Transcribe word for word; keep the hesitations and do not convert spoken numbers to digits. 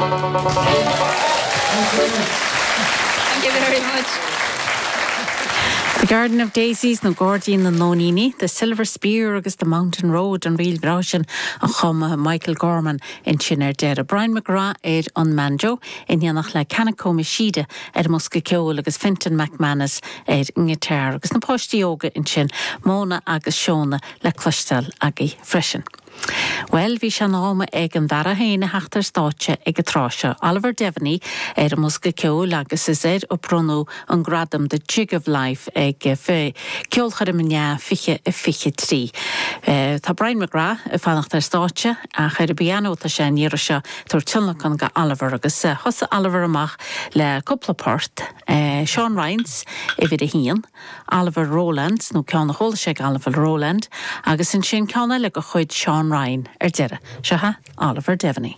Thank you very much. The Garden of Daisies nó Gairdín na Nóiníní, The Silver Spear agus The Mountain Road an ríl bhreá sin a chum Michael Gorman ansin ar deireadh. Brian McGrath ar an mbanjo in éineacht le Kanako Mishida ar an mbosca ceoil agus Fintan McManus ar an ngiotár agus na páistí óga ansin Móna agus Seona le cloisteáil agaibh freisin. Well bhí sé in am ag an bhfear féin a theacht ar stáitse ag an tráth seo. Oliver Devaney ar an mbosca ceoil agus is air a bronnadh an gradam The Jig of Life ag fé ceolchoirm inné fiche a fiche trí. Uh, tá Brian McGrath ag fanacht ar stáitse ach ar an bpianó tá sé an iarraidh seo tabhairt tionlacan go Oliver agus uh, thosaigh Oliver amach le cúpla port, uh, Sean Ryans uimhir a haon, Oliver Rowlands nó ceann a chuala sé Oliver Rowland, agus ansin ceann eile de chuid Sean Ryan ar deireadh. Seo Oliver Devaney.